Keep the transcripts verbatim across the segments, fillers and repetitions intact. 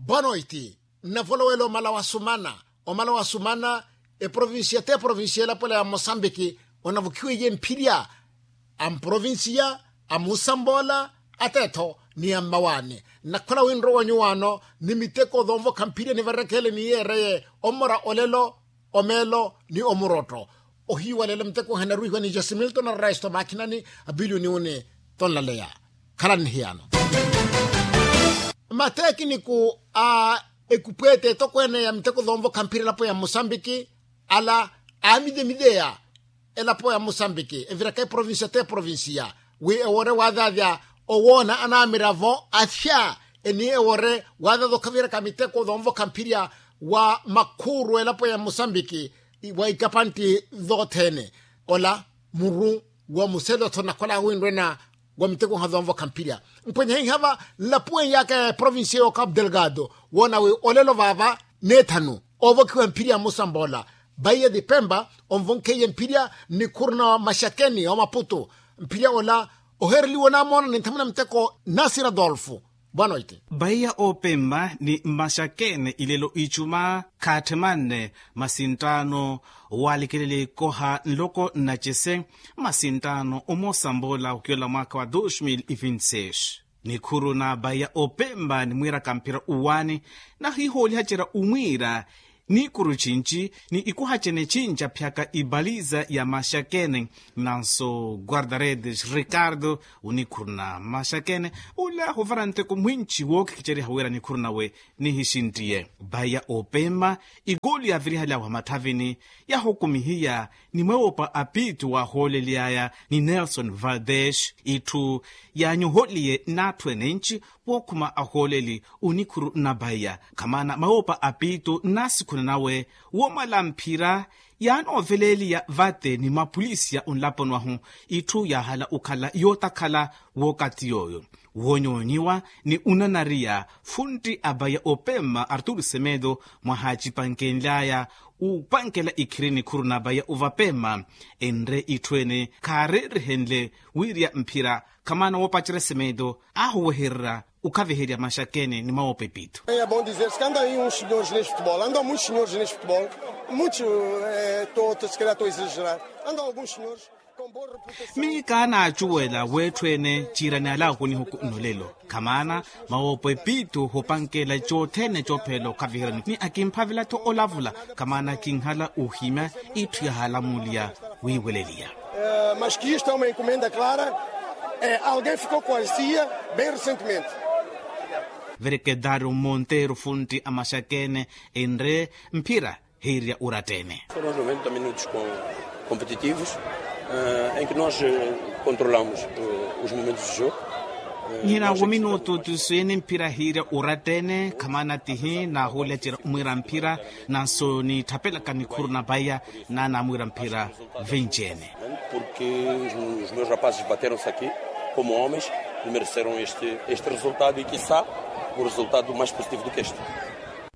Boa noiti. Nnavolowela omala wa sumana, omala wa sumana. Eprovincia te provincia elapo ela ya mosambiki, onavukhiweiye mphirya a mprovincia, a musamboola, atetho ni a mmawaani. Nnakhola winrowa nyuwaano ni miteko zoonvokha mphirya nivarekhele ni yeereye omora olelo, omeelo ni omurotto. Ohiiwalela miteko ehanarwihiwa ni jasimilto na raisto maakhinani, apiliyoni uni tonlaleya. Khalani nihiyaano. Mateekiniku a ekupweete etokweene ya miteko zoonvokha mphira elapo ya musambiki, ala aamidemideya elapo ya musambiki eviraka eprovincia te provincia, wi ewore waadhaadhya owoona anamiravo athya. Eni ewore waadhaadhya okhaviraka miteko zoonvokha mphirya wa makhuuru elapo ya musambiki, wa ikapantti thoothene. Ola muru wa muselo tho nakhola winrwena wa miteko nhazoonvokha mphirya. Mpwenye hihava nlapuweinyaka ya provincia yo capu delgado, woona wi olelo vaava neethanu oovokhiwa mphirya musamboola. Baia di pemba onvonkheiye mphirya nnikhuru na maxakeni omaputu. Mphirya ola ohereliwa onamoona ni nthamuna miteko nasira dolfu. Bwanoiti. Baia opemma ni mmaxakene ilelo icuma khaatthemanne masinttaano walikelele ikoha nloko nnacese. Masinttaano omosamboola okiola mwaakha wa dos mil e vinte seis. Nikhuru na baia opemma ni mwiiraka mphira uwaani nahihoolihacerya omwiira. Nikhuru cinci ni ikoha cene cinci aphyaka ibaliza ya maxakene. Nanso guardaredes ricardo onikhuruna maxakene, ula huvara nteko mwinci wookhikicerya wira nikhuruna we nihixintiye. Baia opemma igoli yavirihaly'awe hamathavini yahukumihiya ni mweewopa apiitu waahoolely'aya ni nelson valdes itthu yaanyoholiye n'atthu enenci. Wookhuma ahooleli onikhuru na baia khamana mweewopa apiitu n'asikhuna nawe woomala mphira yaanooveleeliya vate ni mapulisiya onlaponi wahu. Itthu yaahala okhala yootakhala wookathi yooyo woonyoonyiwa ni onanariya funtti a baia opemma arturu semedo mwahaacipankenly'aya upankela ikhiri nikhuru na baia ovapemma. Enre itthu ene khaareerihenle wiiriya mphira khamana woopacerya semedo aahuwehererya okhaviherya maxakene ni mwawopa epiito. É bom dizer-se que andam aí uns senhores neste futebol, andam muitos senhores neste futebol, muitos, eh, tô, tô, se calhar estou a exagerar, andam alguns senhores com boa reputação. Miyo kaanaacuwela w'etthu ene ciirani alaaku nihuku nnolelo khamana mwawopa epiito hupankela cothene coophelela okhaviherya ni akimphavela-tho olavula. Khamana kinhala ohimya itthu yahaalamuliya wiiweleliya. Eh, mas que isto é uma encomenda clara. Eh, alguém ficou com a cia bem recentemente. Verekedario monteiro funtti a maxakene enre mphira hiirya urattene. Foram noventa minutos com competitivos, eh, em que nós, eh, controlamos, eh, os momentos de jogo. Nhina wo minutu tuswini mphira hiirya urattene khamana tihi naahuulyacerya omwiira mphira nanso nitthapelaka nikhuru na baia naanamwiira mphira vinci ene. Porque os meus rapazes bateram-se aqui como homens e mereceram este resultado e quissá um resultado mais positivo do que este.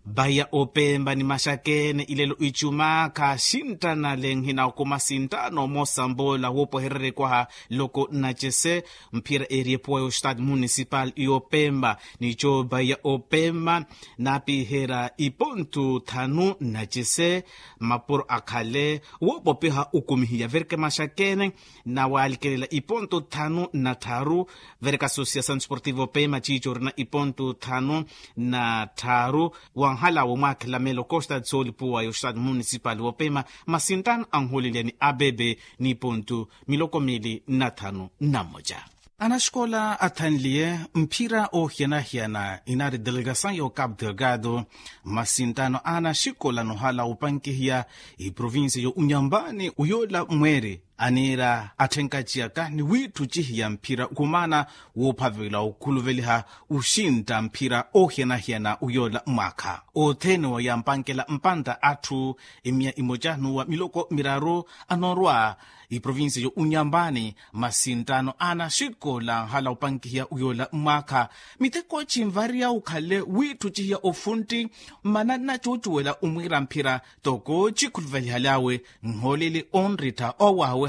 Baia opemba ni maxakene ilelo icuma khaxinttana lenhina okumasinttano moosamboola woopohererya ekwaha loko nnacese. Mphira eri epuwa yo stade municipal y'opemba nico baia opemba naapiherya ipontu thanu nnacese. Mapuro akhale woopopiha okumihiya verke maxakene nawalikelela iponto thanu na tharu. Vereka associação desportiva opema ciico orina iponto thanu na tharu. Wanhala womwakhela melo costa de sol puwa yo estado municipal wopema masintano anholelya ni abebe ni iponto miloko mili na thanu na mmoja. Anaxikola athanliye mphira oohiyana-hiyana inaari delegação yo capo delgado. Masintano a anaxikola nohala opankihiya iprovincia yo unyambani uyoola mweeri aniira atthenkaci aka ni wiitthucihiya mphira khumaana woophavela okhuluveliha oxintta mphira oohiyana-hiyana uyoola mwaakha othene wa yaampankela mpantta atthu emiya imoca n'uwa miloko miraru anoorwa iprovincia yo unyambani. Masintano a anaxikola anhala opankihiya uyoola mwaakha miteko cinvariya okhale wiitthucihiya ofuntti mmana nnacuucuwela omwiira mphira toko cikhuluvelihaly'awe nhooleli onrittha owaawe.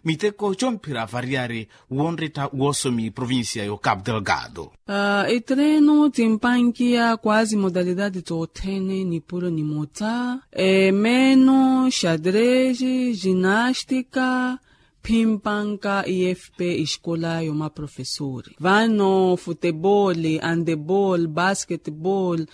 miteko comphira variyari wonretta woosomi provincia yo capu delgado. Etreno timpankiya kwasi modalidade tothene nipuro nimota, emeno xadreji jinastika, phimpanka ifp escola yo maprofesori vano futebol, andebol, basketbol,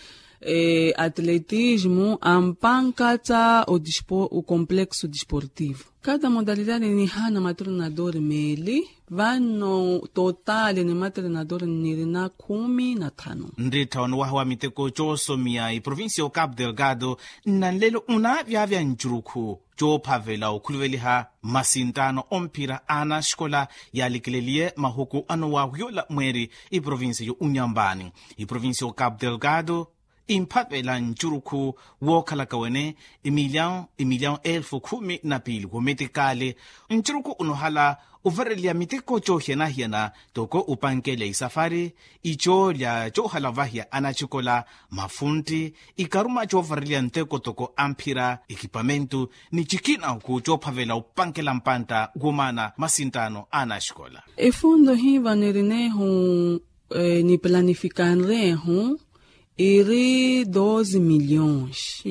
atletismo ampanka tsa o complexo desportivo. Kada modalidade nihana matrenador meeli vano totale ni matrenador nirina khumi na thanu. Nrittha onowaha wa miteko coosomiya iprovincia o capu delgado nnanlelo onaavyavya ncurukhu coophavela okhuluveliha masinttano omphira a anaxikola yaalikileliye mahuku anowahu yoola mweeri iprovincia yo unyampani. Iprovincia o capu delgado imphavela ncurukhu wookhalaka wene emiliawu emiliawu elfu khumi na piili wometikali. Ncurukhu onohala ovareliya miteko coohiyana-hiyana toko opankela isafari, icoolya coohala ovahiya anaxikola, mafuntti, ikaruma coovareliya nteko toko amphira ekipamentu ni cikina oku coophavela opankela mpantta womaana masinttano a anaxikola. Efundo hiiva nirinehu ni planifikanrehu iri doze milhões.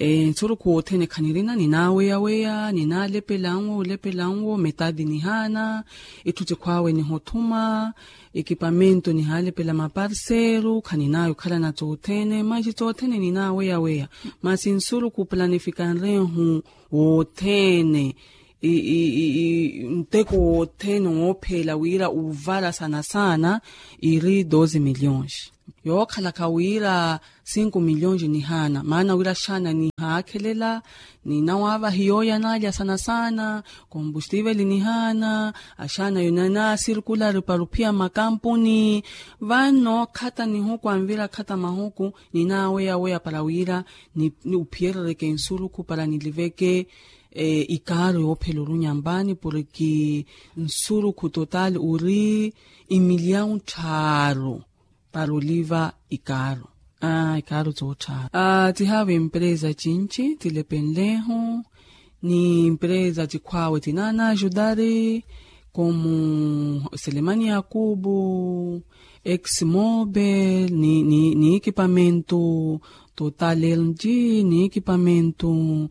Nsurukhu wothene khanirina ninaaweyaweya ninaalepelanwo olepelanwo metadi nihaana, itthu cikhwaawe nihothuma, ekipamento nihaalepela maparseru khaninaayo okhalana tsothene manxi tsothene ninaaweyaweya. Masi nsurukhu planifikanrehu wothene nteko wothene woopheela wira uvara sanasaana iri doze milhões. Yookhalaka wira cinco milhões nihaana maana wira axaana nihaakhelela ninawaavahi yooya naalya sanasaana, kombustivel nihaana axaana yo nanaasirkulari para ophiya makampuni. Vano khata nihuku anvira khata mahuku ninaaweyaweya para wira ophiyerereke nsurukhu para niliveke ikaaru yoophela orunya mpaani porki nsurukhu total ori imiliyawu tthaaru para oliva ikaaru. Ikaaru tsootthaaru. Tihaavi empresa cinci tilepenlehu ni empresa cikhwaawe tinaanaajudari komu selemani yakubu, exmobel ni ekipamento total lg ni ekipamento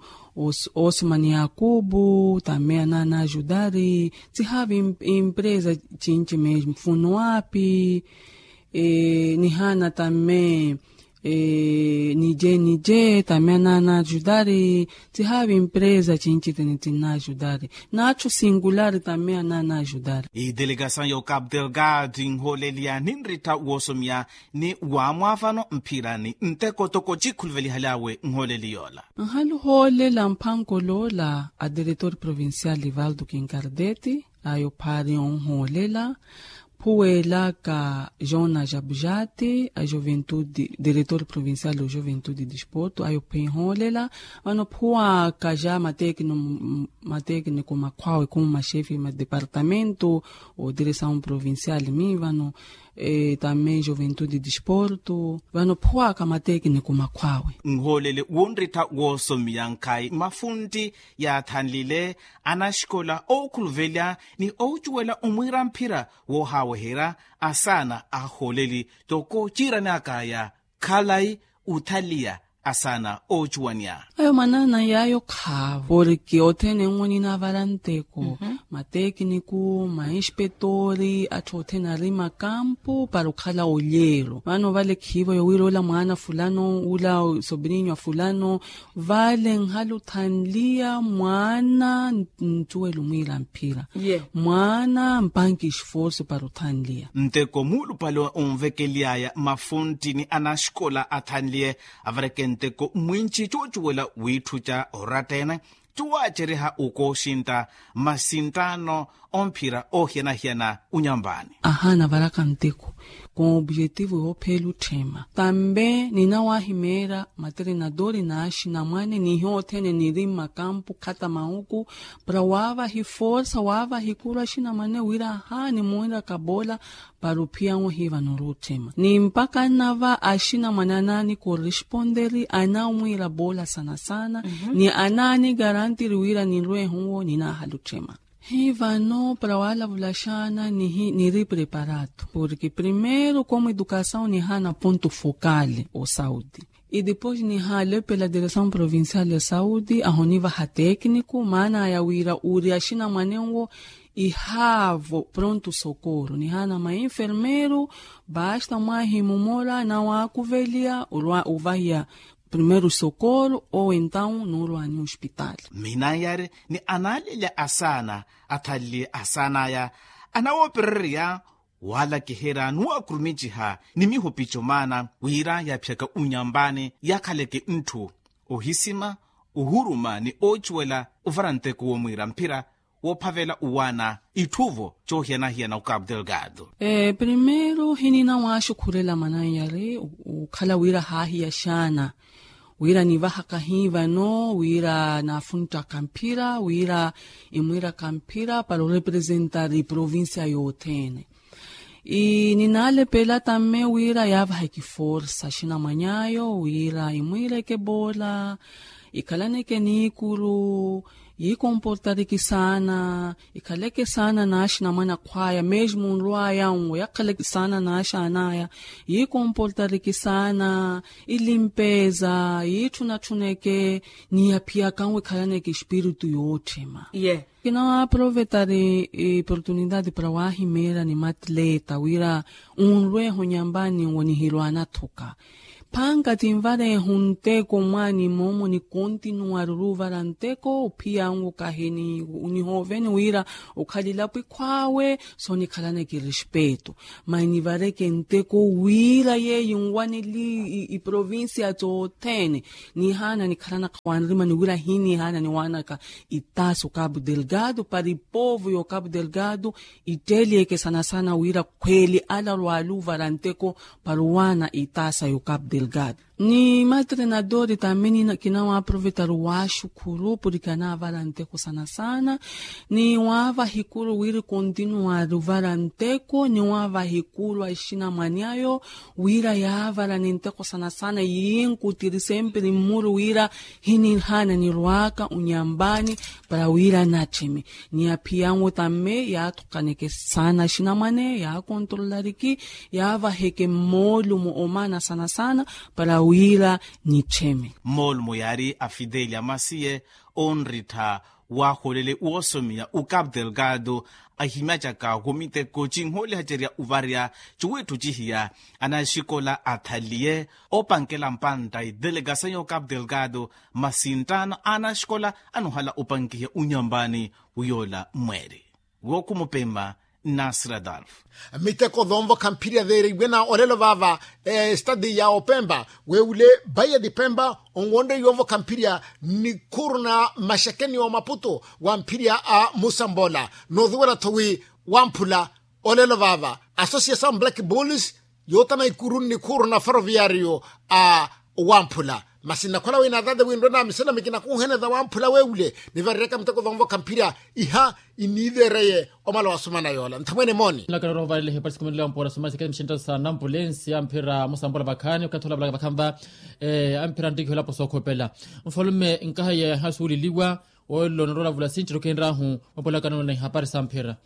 osmani yakubu tamme anaanaajudari. Tihaavi empresa cinci mesmo funuapi nihaana tamme nije nije tamme anaanaajudari. Tihaavi empresa cinci tene tinaajudari. Naatthu singulari tamme anaanaajudari. Idelegasaw yo capu delgado inhooleliya ninrittha woosomiya ni waamwaavano mphirani nteko toko cikhuluvelihalyawe nhooleli yoola. Nhaluhoolela mphankoloola adiretor provincial livaldo kinkardeti ayo phaari onhoolela phuwelaka jona jabujati a juventude diretor provincial o juventude disporto ayo phinhoolela. Vano phuwaka ja matekniko makhwawe khumu maxefi ma departamento o diresaw provincial mi vano tamme juventude disporto vano phuwaka matekniko makhwawe. Nhoolele wonrittha woosomiya nkhayi mafuntti yaathanlile anaxikola ookhuluvelya ni oocuwela omwiira mphira woohaaweherya asaana ahooleli toko ciirani akaya khalayi othaliya asaana oocuwaniya. Ayo manaana yaayo khaavo porki othene nwo ninaavara nteko matekniku mainspetori atthu othene ari makampu para okhala olyeero vano vale khiivo yowira ola mwaana fulano ola sobrinyo a fulano vale nhala othanliya mwaana ncuwela omwiira mphira mwaana mpanki esforso para othanliya. Nteko muulupale onvekely'aya mafuntti ni anaxikola athanliye avareke nteko mwinci coocuwela wiitthuca oratta-ene cuwaacereha okooxintta masinttaano omphira oohiyana-hiyana unyambaani. Ahaana avaraka nteko Objetivo yoophela otthema tambe ninawahimeera materinadori n'axinamwane nihiyo othene niri mmakampu khata mahuku para waavaha iforsa waavaha ikuru axinamwane wira ahaani mwiraka boola. Para ophiya-nwe ohiiva nori otthema ni mpakha nnava axinamwane anaani koresponderi anaamwiira boola sana sana ni anaani garantiri wira ninrwehe owo ninaahala otthema. Hi vano para waalavula xaana nihi niri preparado porke primeiro komu edukasaw nihaana ponto fokale osaudi. Idepois nihaale pela diresaw provincial ya saudi ahonivaha tekniko maanaya wira uri axinamwane nwo ihaavo pronto sokoro nihaana mainfermeiro. Basta mwahi mumora nawaakuvelia orwa ovahiya primeiro sokoro owe entawu noorwani ospitali. Minanyari ni analelya asaana athaleliye asaanaya anawoopererya waalakiherya nuwakuruminciha ni mihupico maana wira yaaphiyaka unyambani yakhaleke ntthu ohisima ohuruma ni oocuwela ovara nteko womwiira mphira woophavela owaana itthuvo coohiyana-hiyana okapu delgado. Primeiro hinina waaxukhurela mananyari okhala wira haahiya xaana wira nivahaka hi vano wira naafunttaka mphira wira imwiiraka mphira para orepresentari provincia yothene. Ninaalepela tamme wira yaavaheke iforsa axinamwany'ayo wira imwiireke boola ikhalaneke niikuru yiikomportariki saana ikhaleke saana n'axinamwane akhw'aya mesmo nrw'aya nwo yakhaleke saana n'axaan'aya yiikomportariki saana ilimpeza yiitthunatthuneke ni yaphiyaka nwo ikhalaneke espiritu yootthema. Ye kinawaaprovetari oportunidade para waahimeera ni matleta wira onrweeha onyambani nwo nihirwaana athuka phanka tinvareeha onteko mwaani moomo nikontinuwari oruvara nteko ophiya nwo kahi nihooveni wira okhalilapo ikhw'awe soonikhalaneke respeto. Mani nivareke nteko wira yeeyo nwaneli iprovincia tothene nihaana nikhalanaka wanrimani wira hinihaana niwaanaka itaasa okapu delgado para ipovo y'okapu delgado itteeliyeke sana sana wira khweeli ala arwaaluvara nteko para owaana itaasa y'okapu delgado. Ni matrenadori tamini kinawaaprovetaru waaxukhuru porke anaavara nteko sana sana ni waavaha ikuru wira ikontinuwari ovara nteko ni waavaha ikuru axinamwane ayo wira yaavarani nteko sana sana yiinkutiri sempiri mmuru wira hinihaana nirw'aka onyambani para wira nattheme ni aphiyanwo tamme yaathukaneke saana axinamwane yaakontrolariki yaavaheke mmoolumo omaana sana sana para wira nittheme. Mmoolumo yaari afidelia masiye onrittha waaholele woosomiya okapu delgado ahimyacaka womiteko cinhoolihacerya ovarya ciwiitthu cihiya anaxikola athaliye opankela mpantta idelegasayo okapu delgado masi nttaano anaxikola anohala opankiha onyambani wiyoola mweeri wookhumupemma. Nasir adolf miteko zonvokha mphirya veereiwe na olelo vaava estadi ya opemba weewule baia di pemba onwonre yoovokha mphirya nikhuru na maxekeni wa maputo wa mphirya a musambola noozuwela-tho wi wamphula olelo vaava association black bulls yootana ikuru nnikhuru na ferroviario a wamphula masi nnakhola wi naatante winrwe naamisenami kinakuuhene za wamphula weewule nivarireke miteko zonvokha mphirya iha iniiveereye omala wasumana yoola nthamwene mooni. Nlakala oroho vaarele hepasi kumenela mpora sumasi kati mixintta sa nampulensi amphira musambola vakhaani okathi olavalaka vakhaani va amphira nttikiho elapo sookhopela nfalume nkahaye hasuuleliwa. Olelo norolavula sinttiro khenrahu opolakano na ihapari sa mphira.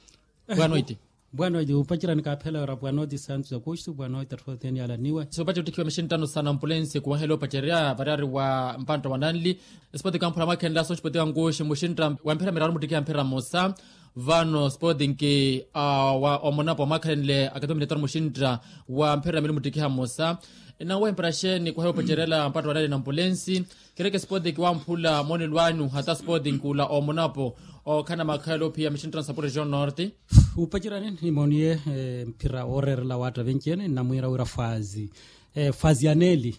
Bwanoiti. Bwanoiti opacirani kaaphela ora bwanoiti santu za kuxtu bwanoiti atthoteni alaniwe. Soopacerya ottikiwa mixinttano sa nampulensi kuwahela opacerya variyari wa mpantta wa nanli. Sipoti kamphula mwakhenla soxipoti kankuxi muxintta wa mphira miraru muttikiha mphira mmosa. Vano sipoti nki wa omonapo mwakhenle akatumi netaru muxintta wa mphira mili muttikiha mmosa. Nawe mpira xeeni kuhaya opacerela mpantta wa nanli nampulensi. Kereke sipoti kiwamphula moonelo anyu hata sipoti nkula omonapo okhana makhaelo ophiya mixinttano sa porregion norte. Upacerani nimooniye mphira ooreerela waatta venci-ene nnamwiira wira faazi faazi ya neeli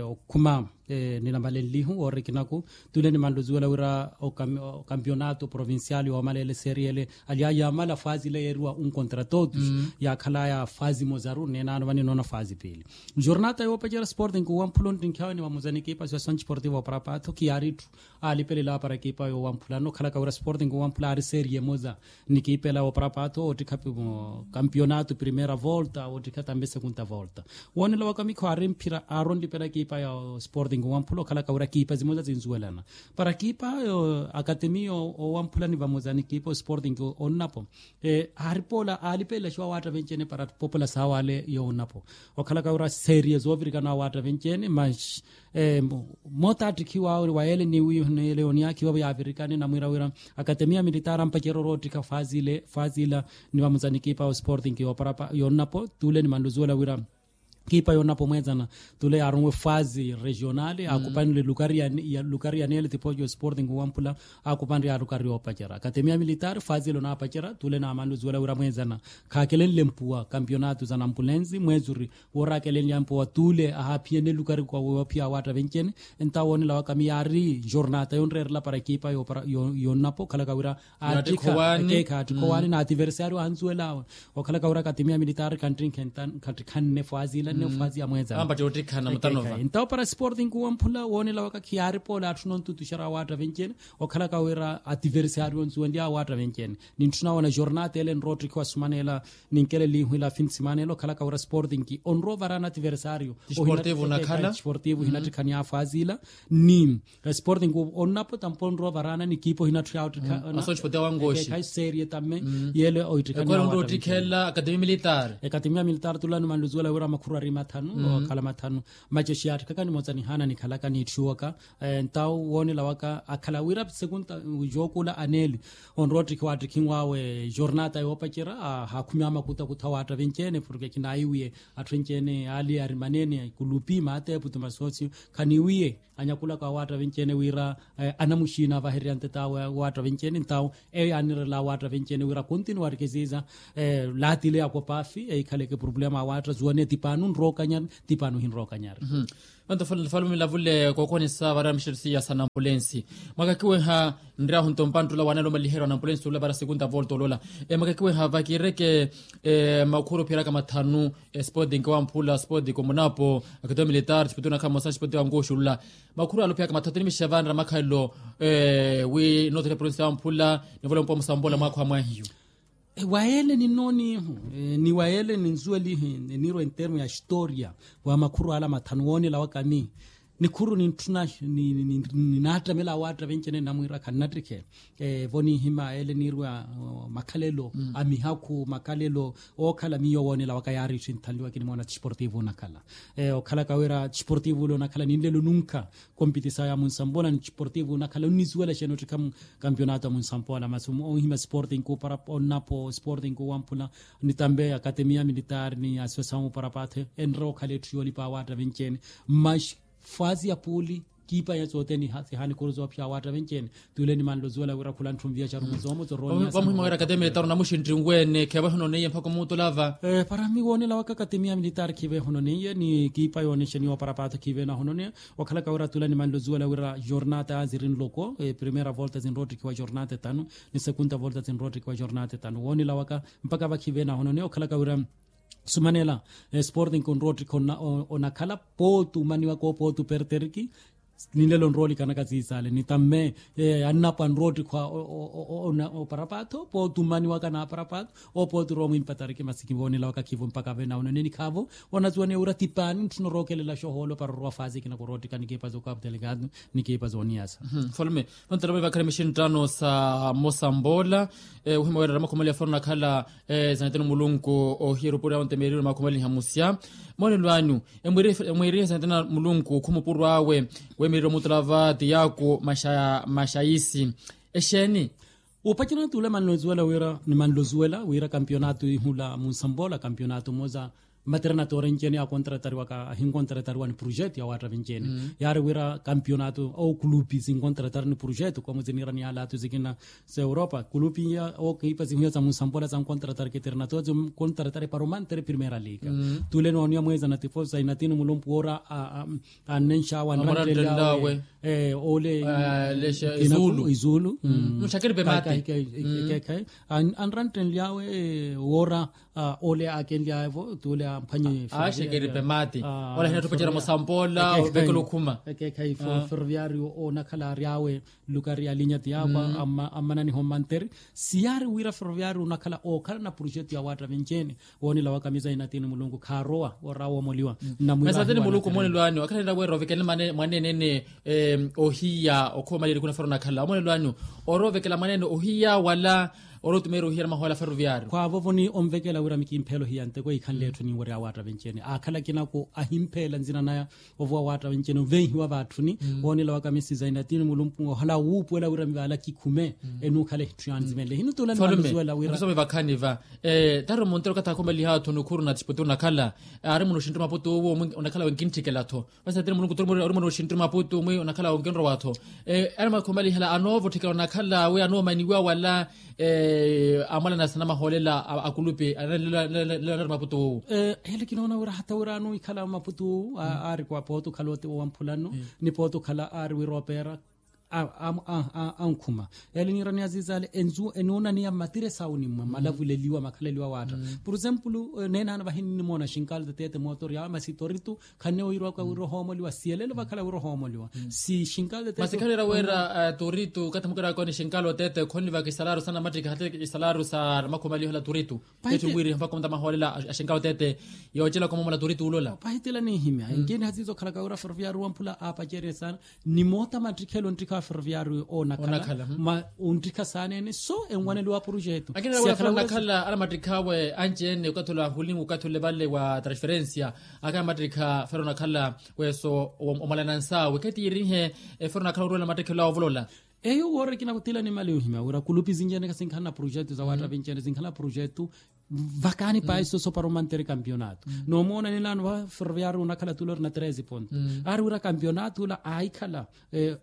okhuma ninambalenlihu woorikinaku. Tule nimanluzuwela wira okampiyonato provincial yoomaleela eseriele ali ayamala faazi ile yeeriwa un contra totus yaakhalaya faazi mozaru neenano vani noona faazi piili. Jornata yoopacera sporting wamphula ontinkhawe ni vamuza nikipa siwa sanchi sportivo para patho khiyaari itthu. Alipelela para ekipa yowamphulana okhalaka wira sporting wamphula ari serie moza. Nikipela oparapato ottikha kampionato primera volta ottikha tambe sekunta volta. Wonela waka mikho ari mphira aronlipela ekipa ya sporting wamphula okhalaka wira ekipa zimoza zinzuwelana. Para ekipa akatemiya owamphula ni vamoza ni ekipa sporting onnapo. Aaripola alipelela xiwa waatta venchene para popula sawa ale yoonnapo. Okhalaka wira serie zoovirikana waatta venchene mas moota attikhiwa wa yele ni wiiho ni yele oniyakhiwa yaavirikane namwira wira akatemiya militaari ampacerya oroottikha faazi ile faazi ila. Ni vamuza ni ekipa ya osporting yooparapa yoonnapo tule ni manluzuwela wira ekipa yoonnapo mweezana tule yaaronwe faazi regionale akupanre lukari ya nele tipojo osporting wamphula. Akupanre alukari yoopacerya akatemiya militaari faazi ile onaapacerya tule naamanluzuwela wira mweezana khaakelenle mpuwa kampionato za nampulenzi mweezuri. Woorakelenlyampo wa tule ahaaphiyene lukari kwa woophiya awaatta venchene. Entawo woonela waka miyaari jornata yonreerela para ekipa yoonnapo okhalaka wira aattikha ekeekha aattikha owaani na ativersario anzuwelawe. Okhalaka wira akatemiya militaari khanttirinkhe khattikhanne fwazi ila nne fwazi ya mweezana. Entawo para sporting wamphula woonela waka khiyaaripola atthu nontutuxera awaatta venchene. Okhalaka wira ativersario onzuwenlyawe awaatta venchene. Nintthuna woona jornata ele nroottikhiwa sumanela. Ninkele liihu ila fin simanela okhalaka wira sporting onrowa ovaraana ativersario. Tisportivo nakhala tisportivo hinattikhani afwazi ila ni sporting onnapo tampo onrowa ovaraana ni ekipa ohinatthu yaawattikha. Serie tamme yele oittikhanionttikhela akatemiya militaari. Ekatemiya militaari tulani manluzuwela wira makhuru ari mathanu okhala mathanu. Maceshi yaattikhaka ni moza nihaana nikhalaka niitthiwaka. Entawo woonela waka akhala wira sekunta jookula aneli onrowa ottikhiwa attikhinwawe jornata yoopacerya. Haakhumi amakuta kutha waatta venchene porke khinaiwiye atthu enchene ali ari manene kulupi maatepu tumasosio khaniwiye anyakulaka awaatta venchene wira anamuxiina avahererya ntetawe awaatta venchene ntawo eyo yaanirela awaatta venchene wira kontinuwarike ziiza. Laatile yakopafi eikhaleke problema awaatta zuwane tipano nrookanyari tipano hinrookanyari. Vanto falume lavule kookonisa vara mixerisiya sa nampulensi. Mwakakiweha nryahu nto mpanttula waanala omaliherya wa nampulensi ula vara sekunta volta olola. Mwakakiweha vakiireke makhuru phiiraka mathanu. Sporting wamphula sporting omunapo akito militar sipoti onakhala mosa sipoti wankuxulula. Makhuru alophiyaka mathanu tini mixixa vanra makhalelo wi nothera provinsi yamphula. Nivola mpo musambola mwakho amwahiyu. Wa ele ni noonihu ni wa ele ni nzuwelihi. Nirwa entermo ya historia wa makhuru ala mathanu woonela waka mi nikhuru nintthuna ninaattamela awaatta venchene namwiira khannattikhe. Vo niihima ele nirwa makhalelo a mihakhu makhalelo ookhala miyo woonela waka yaari itthu inthanliwa kinimoona tisportivo onakhala. Okhalaka wira tisportivo ule onakhala ninlelo nunkha kompitisayo ya munsambola ni tisportivo onakhala onnisuwela xeeni ottikha kampionato ya munsampola masi onhima sporting kuparapa onnapo sporting kuwamphula ni tambe akatemiya militaari ni asosiasamu parapathe enre okhala etthu yoolipa awaatta venchene. Mas fwazi ya puuli kiipa ya sothene sihaani kuru zoophiya awaatta venchene. Tule nimanlo zuwela wira khula ntthumviya xarumu zoomo zorooniya vamuhima wira akatemiya militaari onamuxintti nweene kheevahi ononeiye mpakha omuutulava. Para miwoonela waka akatemiya militaari khiiveeha ononeiye ni kiipa yoonexeniwa parapatho khiiveena ahononeya. Okhalaka wira tula nimanlo zuwela wira jornata ziri nloko primera volta zinroottikhiwa jornata etanu ni sekunta volta zinroottikhiwa jornata etanu woonela waka mpakha vakhive nahononeya okhalaka wira sumanela sporting onroottikha onakhala pooti omaniwaka opooti operteriki. Ninlelo nroolikanaka ziizaale nitamme annapo anroottikha oparapatho pooti omaniwaka naparapatho opooti roomwimpatariki masi kivoonela waka khivo mpakha vena onaneni khaavo. Onazuwaneya wira tipaani ntthuna orookelela xohoolo para orowa faazi ekina koroottikha nikiipa zookapitali kaatu nikiipa zooniyasa. Mfalme nontera vavakhala mixinttano sa mosamboola. Ohima weerera makhumali afana onakhala esanateni mulunku ohiya erupuri awe ontemeereriwe makhumali nhamusya. Moolelo anyu emwiirihe esanateni mulunku khumupuro awe weemeereriwe omutulava tiyaku maxayisi exeeni? Upacerana tule manlozuwela wira ni manlozuwela wira kampionato ihula munsamboola kampionato moza. Maternatoore ncene akontratariwaka ahinkontratariwa ni projeto ya waatta vinceene. Yaari wira kampionato ou kulupi sinkontratari ni projeto komu ziniira ni alato zikina. S'europa kulupi iya okiipa zihuya za munsampola zankontratari keternatoore zinkontratari para omantere primeira liga. Tule nooniya mweeza na tifosa inatini mulumpu woora annenxawe anranttenlyawe ole. Izuulu. Nxakeripe mate. Anranttenlyawe woora ole akenlyawe-vo tule amphanye. Axekeripe mate. Ole ahina tupacera musampola ovekela okhuma. Ekeekhayi ferroviario onakhala aryawe lukari ya linya tiyapa. Ammananiha omantere siyaari wira ferroviario onakhala ookhala na projeto ya waatta vinceene. Woonela wa kamisa inatini mulunku khaarowa woora woomoliwa. Nnamwiivahi nasatini mulunku omoonelo anyu akhala nira wira ovekele mwaneene ohiya okhoomaliyerikhu na fero onakhala omoonelo anyu? Oora ovekela mwaneene ohiya wala oora otumeerya ohiya na mahola ferroviario? Khwaavovo ni onvekela wira mikimpheela ohiya nteko ikhanle etthu ninwerya waatta vinceene aakhala kinaku ahimpheela nzina naya. Ovuwa waatta vinceene ovenhiwa vaatthuni. Woonela wa kamisa inatini mulunku ohala wuupuwela wira mivaala kikhume enuukhala ehitthu yanzimenle hino tula nimaluzuwela wira. Mukisome vakhani va tari omuntere okathi akhomaliha atthu nukhuru na tispoti onakhala aari muno oxinttiri maputu owo onakhala wenkintthikela-tho. Masi atini mulunku turi muri ori muri oxinttiri maputu omwi onakhala onkinrowa-tho. Ari mwakhomalihala anoovotthikela onakhala wi anoomaniwa wala amwalana sanamahoolela akulupi analelela anari maputu owo. Ele kinoona wira hata wira anoikhala maputu owo aari kwa pooti okhala ote wamphulano ni pooti okhala aari wira opeera ankhuma. Ele niirani azizaale enzu enuunaniya mmatiresi awo ni mmalavuleliwa makhaleliwa waatta. Por exemplo neenaano vahi ninnimoona xinkaalo tatete mootori awe masi toritu khanne wiirwaka wira ohoomoliwa siyelelo vakhala wira ohoomoliwa. Si xinkaalo tatete masi khanera wira toritu okathi mukiraka ni xinkaalo tatete khonivaka isalaru sa namattikha hata isalaru sa namakhomaliho la toritu. Petti wiri mpakha onta mahoolela axinkaalo tatete yoocela komomola toritu olola. Pahitela ninhimya inkini hasiizo okhalaka wira ferroviario wamphula aapacerye saana. Ni moota mattikhelo onttikha wa ferroviario onakhala ma onttikha saaneene so enwaneliwa projeto. Akinela wira fero onakhala anamattikha awe anci-ene okathi ole ahulingu okathi ole vale wa transferencia. Akhala mattikha fero onakhala weso omwalana nsaawe khetiyirihe efero onakhala oruwela mattikhelo awe ovolola. Eyo woori kinakuthila nimali ohimya wira kulupi zinci-ene kasinkhala na projeto za waatta vinci-ene sinkhala na projeto. Vakaani pahi soso para omantere kampionato noomoona ninaano va ferroviario onakhala tula ori na treze ponto. Aari wira kampionato ula aahikhala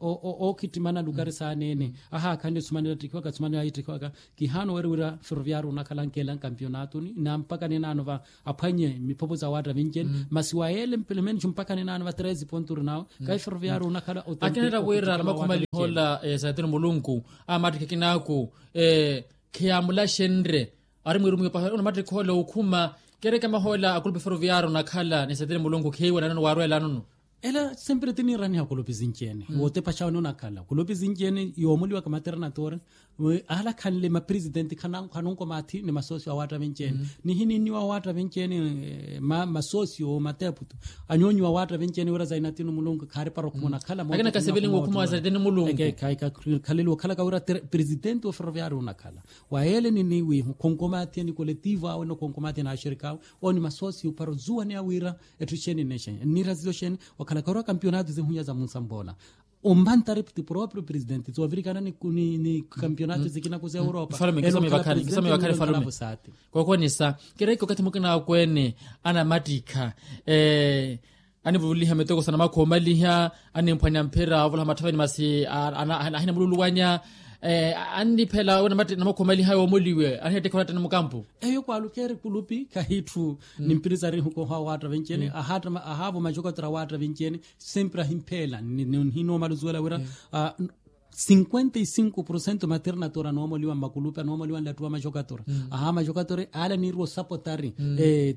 ookhittimana lukari saaneene ahaakhanle sumanela attikhiwaka sumanela aittikhiwaka. Kihaana oweeri wira ferroviario onakhala ankela nkampionatoni na mpakha ninaano va aphwanye miphopho za waatta vinci-ene masi wa yeele mpelemenicu mpakha ninaano va treze ponto ori nawe. Kahi ferroviario onakhala ote akinera wira namakhumalihola esatini mulunku amattikha kinaaku khiyamulaxenrye. Ari mwiirumiwe pahi onamattikha ole okhuma kereke amahoolela akulupi ferroviario onakhala ni esatini mulunku khiiwe nanono waarweelanono. Ela sempre tiniiraniha kulupi zinci-ene wootepaxawe nonakhala kulupi zinci-ene yoomoliwaka maternatore. Alakhanle mapresidenti khanonkomaathi ni masosio awaatta vinci-ene nihininniwa awaatta vinci-ene. Masosio mateputu anyoonyiwa awaatta vinci-ene wira zainatini mulunku khaari para okhuma onakhala akina kasivelinwe okhuma wa zainatini mulunku. Khaleliwa okhalaka wira presidenti wa ferroviario onakhala wa yeele niniwiihu khonkomaathi ni koletivo awe nokhonkomaathi na axirikaawe. Owo ni masosio para ozuwaneya wira etthu xeeni nixeeni nniira zizo xeeni. Wakhalaka wira kampionato zihunya za munsambola ombantari ti proprio presidente zoovirikana ni kampionato zikina ku zeuropa. Mfalume nkisome vakhani mfalume. Kokonisa kereke okathi mukina akweene anamattikha anivuliha mitoko sa namakhomaliha animphwanya mphira ovolaha mathaveni masi ahina mululuwanya. Anniphela namakhomaliha yoomoliwe anihettekha olatta ni mukampu. Eyo kwaalukeeri kulupi kahitthu nimpiri sarihukoha awaatta vinci-ene ahaavo majokatura awaatta vinci-ene. Sempre ahimpheela nihinoomala ozuwela wira cinquenta e cinco por cento maternatoora anoomoliwa mmakulupi anoomoliwa nlattuwa majokatora. Aha majokatora ale anirwa osapotari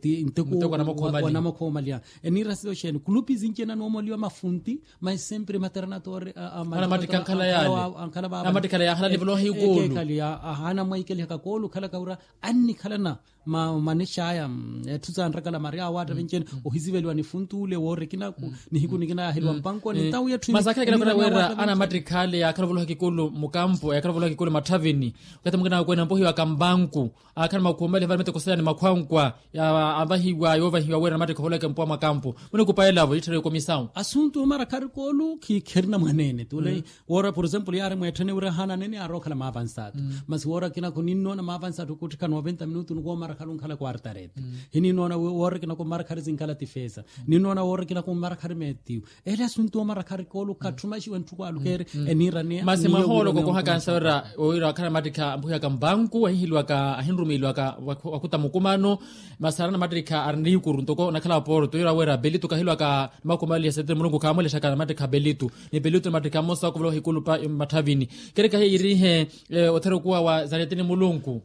ti nteku wa namokhoomalia. Eniira siyo xeeni kulupi zinci-ene anoomoliwa mafunti mas sempre maternatoora. Amattikha ankhala yaale amattikhala yaakhala nivoloha ikoolu. Ahaana mwaikeliha kakoolu okhalaka wira annikhalana manixaya etthu sanrakala mari awaatta vinci-ene. Ohisiveliwa ni funtuule woorikinaku nihiku nikina yaaheliwa mpankoni ntawu yetthu. Masakhala kinakwera wira anamattikha ale yaakhala Ovoloha kikulu mukampu yakhala ovoloha kikulu matthavini. Okathi mukina akweene ampohiwaka mbanku, akhala makhumeliha vale mete koseyani makhwankwa, avahiwa yoovahiwa wira namattikha ovoloweke mpuwa mwa kampu. Munikupa elavo itthereke komisawu. Asuntu omara khari koolu khikherina mwaneene tule. Woora por exemplo yaari mweetthene wira haana aneene yaari okhala maavansaatu. Masi woora kinakhu ninnoona maavansaatu okuttikha noventa minutu nikoomara khali onkhala quartarete. Hininnoona woora kinakhu omara khali zinkhala tifesa. Ninnoona woora kinakhu omara khali meetiyu. Ele asuntu omara khari koolu khatthumaxiwe ntthu kwaalukeeri. Eniira niya masi mwahoolo kokoha kansa wira owiira wakhala namattikha ampuhiyaka mbanku ahihiliwaka ahinrumiiliwaka. Wakuta mukumano. Masi arina namattikha ari niikuru ntoko onakhala porto wira wira pelitu kahilwaka. Makumaliya sete mulunku khaamulexaka namattikha pelitu. Ni pelitu namattikha mmosa wakuvola ohikulupa mmatthavini. Kereka hiya yiirihe othera okuwa wa zaretini mulunku.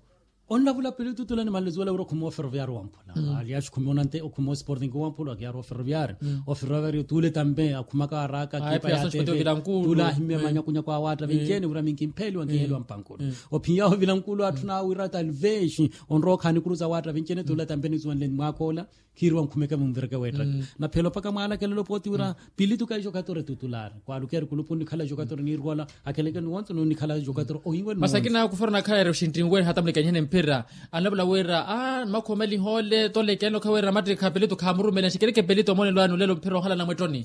Onlavula pelitu tule nimanle zuwela wira okhuma oferoviario wamphula. Aliaxi okhuma onante okhuma osporting wamphula akiyaari oferoviario. Oferoviario tule tampe akhumaka araaka akipa ya teve. Tule ahimmye manyakunyaku awaatta venci-ene wira minkimpheeliwa nkiheliwa mpankulu. Ophiya ovila nkulu atthu naawira talvexi onrowa okhaani kuru za waatta venci-ene tule tampe nizuwenle mwaakoola. Khiiriwa nkhumeke munvireke weettaka. Naphela opaka mwaalakelelo pooti wira pilitu kayi jokatori tutulari kwaalukeeri kulupu nnikhala jokatori niirwala. Akeleke niwonso nunikhala jokatori ohinwe masi akina kufera onakhala eri oxinttinweeri hata mulikanihene mphira. Anlavula wira a nimakhomeliha ole tolekene okha wira namattikha pilitu khaamurumela nxikereke pilitu omonelo anu lelo mphira ohala namwettoni.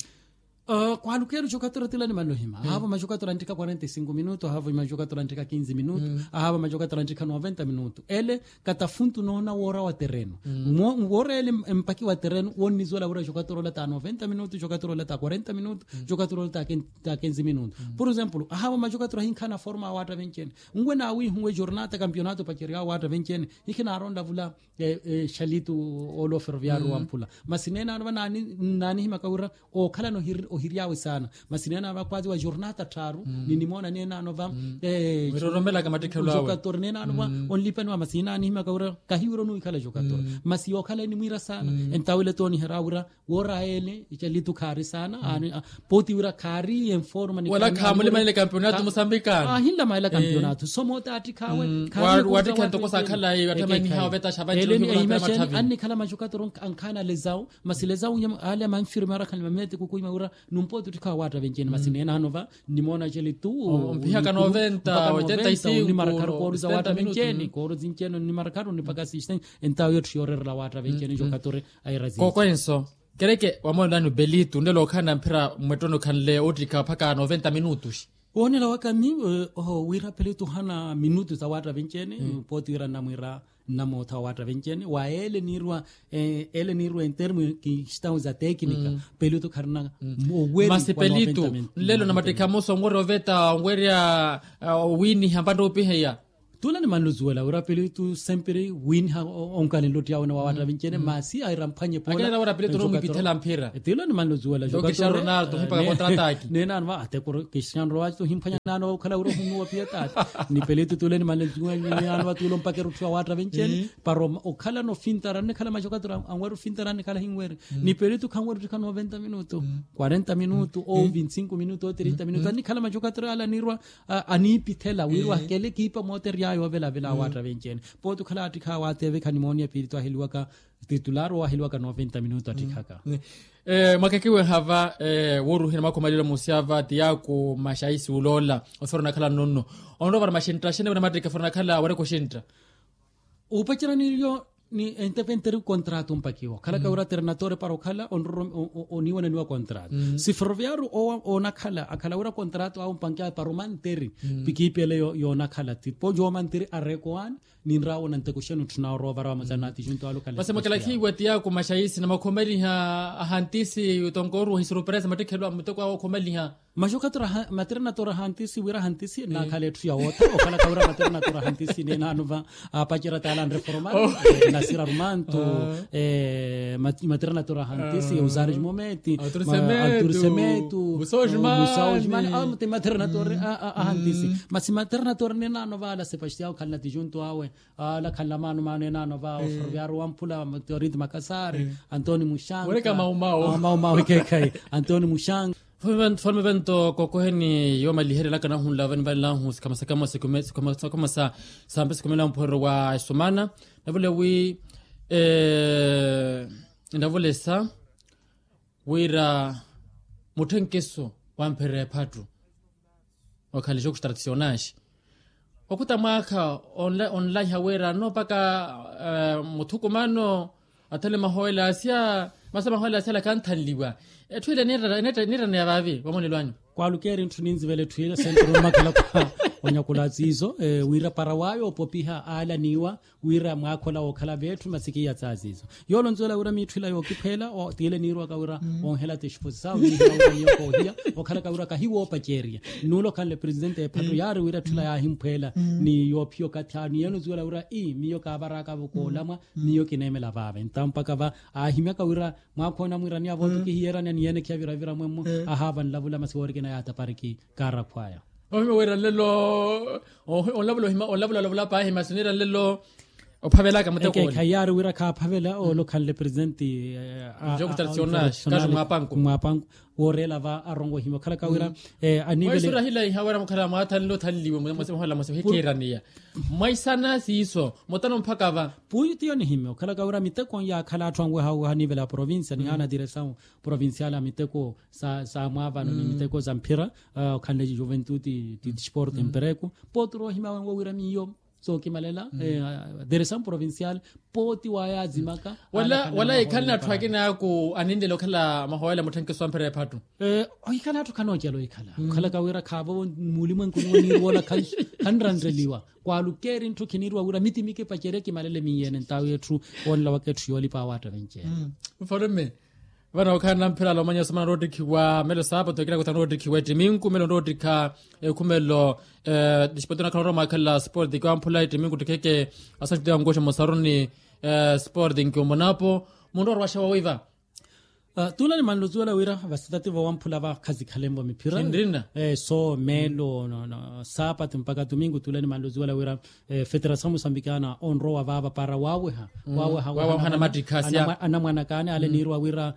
Kwaalukeeri jokatori tila nimanle ohima ahaavo majokatori anttikha quarenta e cinco minutu ahaavo majokatori anttikha quinze minutu. Ahaavo majokatori anttikha noventa minutu ele katafuntu noona woora wa terenu. Woora ele empaki wa terenu wonnizuwela wira jokatori ola ta noventa minutu jokatori ola ta quarenta minutu. Jokatori ola ta quinze minutu. Por exemplo ahaavo majokatori ahinkha anaforma awaatta venci-ene. Nwe naawiihuwe jornata kampionato pacerya awaatta venci-ene hikhinaari onlavula. Xalitu ola oferoviario wamphula masi neene ano va naanihimaka wira ookhalana ohiryaawe saana. Masi neene ano va kwaziwa jornata tthaaru ninimoona neene ano va. Jokatori neene ano va onlipaniwa masi inaanihimaka wira kahi wira onuwikhala jokatori masi yookhala enimwiira saana. Entawo ile tooniherya wira woora ele icalitu khaari saana. Pooti wira khaari enforma wala khamulimanile kampionato musambikana ahinlamaela kampionato somoota attikhawe. Wattikha ntoko sakhalayi wattamaniha ovetaxa vanci ohimunapemathavi. Annikhala majokatori ankhaana lezawu masi lezawu ale amanfirme arakhanle mameti kukuima wira numpooti ottikhawa waatta venci-ene masi neene ano va nnimoona celitu. Ompihaka noventa oitenta y cinco onimarakharu koolu za waatta venci-ene koolu zinci-ene onimarakharu onipaka sixten. Entawo yotthu yoorerela waatta venci-ene jokatori. Aira zinci koko enso. Kereke wamoolelani pelitu nlelo okhala namphira mwettoni okhanle ottikha mpakha noventa minutus. Woonela waka mi wira pelitu ohana minutus awaatta venci-ene. Pooti wira nnamwiira nnamootha awaatta venci-ene wa ele niirwa ele niirwa entermu kistau za tekinika. Pelitu kharina oweri masi pelitu nlelo namattikha mosa onwerya oveta onwerya owiiniha mpantte opiheya. Tula nimanluzuwela wira pelitu sempiri wiiniha onkalenle ottiyawene wa waatta venci-ene masi aira mphwanye poola. Akenela wira pelitu nomwipithela mphira. Tula nimanluzuwela cristiano ronaldo ohimpaka kontrataki. Neene ano va ate cristiano ronaldo ohimphwanya naano okhala wira ohunuwa piya taata ni pelitu tule nimanluzuwela neene ano va tule ompakera otthiwa waatta venci-ene. Para okhala nofintara annikhala majokatori anweri ofintara annikhala ahinweri. Ni pelitu khanweri ottikha noventa minutu quarenta minutu ou vinte cinco minutu ou trinta minutu annikhala majokatori ala anirwa. Aniipithela wira wahikele kiipa mooteryaya ovelavela awaatta venci-ene. Pooti okhala attikhawe ateve khanimooniya pilitu aheliwaka titulari owaheliwaka noventa minutu attikhaka. Mwakekiwe hava wooruhina mwakhumalile musi ava tiyaku maxaisi uloola ofera onakhala nonno onrowa vara maxintta axene wira mattikha ofera onakhala awereke oxintta. Upacerya nilyo ni entepenteri kontrato ompakiwa okhalaka wira ternatori para okhala onroro oniiwananiwa kontrato. Si ferroviario owa onakhala akhala wira kontrato awe ompankiwa para omanteri. Pikiipi ele yoonakhala tipo yoomanteri arekowaani. Ninrawo nanteko xenu tthuna orowa varawa mutsanati junto alo kale masi mwakalakhiwa tiyaku maxaisi na mwakhomeliha ahantisi tonkoru ohisuruperesa mattikhelo a muteko awo okhomeliha. Maxokatura maternatoru ahantisi wira ahantisi naakhala etthu ya woota okhalaka wira maternatoru ahantisi neene ano va apacerya taala anreformar nasira rumantu. Maternatoru ahantisi eusaris mometi autorisemetu musao jimani awo mutematernatori ahantisi. Masi maternatoru neene ano va ala sepastiao khalina tijuntu awe ala khanla maano maano enaano va oferoviario wamphula teoriti makasari antoni muxanka maumau ekekhayi antoni muxanka. Fome vento kokoheni yoomaliherelaka nahunla vanivanlahu sikhama sakhama sa sampe sikhumela muphoorero wa esumana. Navule wi navulesa wira mutthenkiso wampherera ephattu. Okhala exoku tradicionais okhuta mwaakha onlaiha wira anoopaka muthukumano. Athale mahowelasya masi mahowelasya ala kanthanliwa. Etthu ila niiraneya vaavi vamonelo anyu. Kwaalukeeri ntthu ninzivela etthu ila senturu mmakhala khwa onyakula atsiizo wira para waayo opopiha aala niiwa wira mwaakhola wookhala veetthu masi kiiya tsaziizo. Yoolo nzuwela wira miitthu ila yookipheela tiile niirwaka wira onhela tixupusi sawe niihela wira miyo koohiya okhalaka wira kahiwoopaceeriya. Nnuula okhanle presidente ephatto yaari wira etthu ila yaahimphweela ni yoophiya okathi awo ni yeeno nzuwela wira ii miyo kaavaraka-vo koolamwa miyo kineemela vaave ntawo mpaka va aahimyaka wira mwaakhoona mwiraniya vooti kihiyeraniya ni yeenekhiya viravira mwemmo. Ahaava nlavula masi woorikina yaatapariki kaarakhwaya. Ohima wira nlelo onlavula ohima onlavula olavula paahi masi niira nlelo ophavelaka mutekoni. Khayaari wira khaaphavela oolo khanle presente. Njoku tradicionais kaxi mwaapanku mwaapanku wooreela va arongo ohima okhalaka wira anivele mwaisurahilahiha wira mukhala mwaathanle othanliwe mwahola mwaso hikiiraniya mwaisana siiso mutano mphaka va. Puyu tiyo nihimya okhalaka wira miteko yaakhala atthu anweha anivela ya provincia nihaana diresawu provincial a miteko sa mwaavano ni miteko sa mphira okhanle juventude ti disporte mpereku. Pooti roohimya wenwo wira miyo sookimalela diresawu provincial pooti waayaazimaka. Wala yikhale na atthu akina aku aninlele okhala mahoyela mutthenkeso wa mphira ephattu. Ohikhala atthu khanoocela ohikhala okhalaka wira khaavo muulimwenkuni woniirwoola khanranreliwa kwaalukeeri ntthu khiniirwa wira miti mikipacerye kimalele miiyene ntawi etthu woonela waka etthu yoolipa awaatta venceene. Mfalume vano okhala namphirala omanya osomana noottikhiwa melo saapatu ekina kutha noottikhiwa ettiminku melo noottikha ekhumelo. Disporte nakhala oroma akhala sporte kiwamphula ettiminku ttikheke asanttite ankoxa mosaruni sporte nkiwomonapo munroorwaxa wawiva. Tuula nimanluzuwela wira vasitati vowamphula vakhasikhalenvo miphira. Sinrina so melo saapatu mpaka tumingu tuula nimanluzuwela wira federasawu musambikana onrowa vaava para waaweha waaweha anamwanakaani ale niirwa wira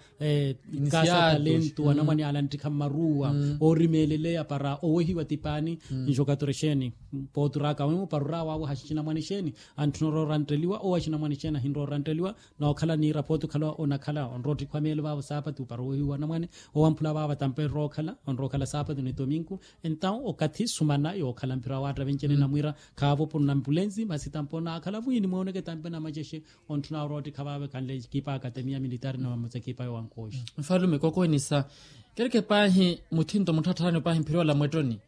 kasa talentu anamwane ale anttikha mmaruwa oorimeeleleya para owehiwa tipaani. Njokatorexeeni pooturaka wimwe para oraawaweha xinamwane xeeni antthuna oroorantteliwa owa xinamwane xeeni ahinrorantteliwa. Nookhala niira pooti okhala onakhala onroottikhiwa meelo vaavo saapatu para owehiwa anamwane owamphula vaavo tampe rookhala onrookhala saapatu ni tominku. Entawu okathi sumana yookhala mphira waatta venceene namwiira khaavo puru nampulensi masi tampe onaakhala vwiini mwooneke tampe namacexe. Ontthuna oroottikha vaavo ekhanle ekipa akatemiya militari na vamosa ekipa yowankooxi. Mfalume kokowenisa kereke paahi muthinto mutthattharani paahi mphira ola mwettoni.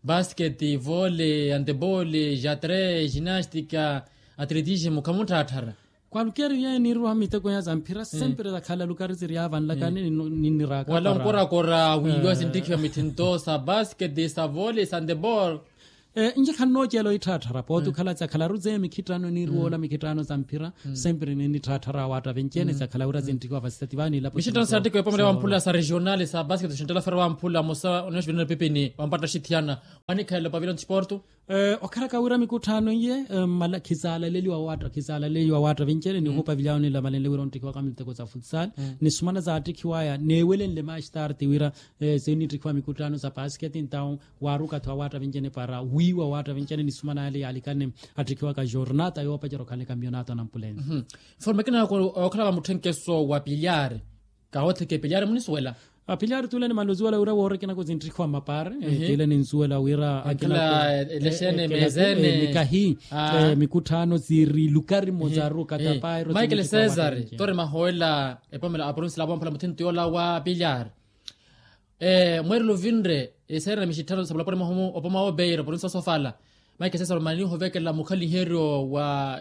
Basketi vole antebole jatre jinastika atletismo khamutthatthara. Kwaalukeeri yeeni niirwa miteko ya za mphira sempre zakhala lukari ziri yaavanlakani ninniraaka wala onkorakora wiiwa sinttikhiwa mithinto sa basketi sa vole sa antebole. Nje khannoocela oitthaatthara pooti okhala zakhalaru zeye mikhitthano niirwoola mikhitthano za mphira sempre ninnitthaattharaawa atta venceene zakhala wira zinttikhiwa vasitati vaanilapo mixitthano saattikhiwa epomela wamphula sa regionale sa basketi oxinttela fera wamphula mosa oneexivinana epipini wampatta xithiyana. Wanikhalelo pavilion sporto. Okhalaka wira mikutthaano iye khizaalaleliwa waatta khizaalaleliwa waatta vinceene ni ohupavilyawo nilamalenle wira onttikhiwaka miteko za futsal ni sumana zaattikhiwaya neewelenle maastarte wira sinnitthikiwa mikutthaano sa pasketi ntawo waaruka-tho awaatta vinceene para wiiwa awaatta vinceene ni sumana yale yaalikanne atthikiwaka jornata yoopacerya okhalanle kampiyonato anampulensi. Forma ekina okhala va mutthenkeso wa pilyari kahotheke pilyari munisuwela. Apilyari tuule nimanle ozuwela wira woorekinaka zintthikiwa mmapare tiile ninsuwela wira akila elexene meezene nikahi mikutthaano ziri lukari mmozaru katapairomaikele cesar tore mahowelela epomela aprovincia la vamphula muthinto yoola wa pilyari. Mweerelo ovinre eseerana mixitthano sapulapula mwahomu opoma obeira oprovincia osofala. Maike sesaro mani nihovekela mukhaliheryo wa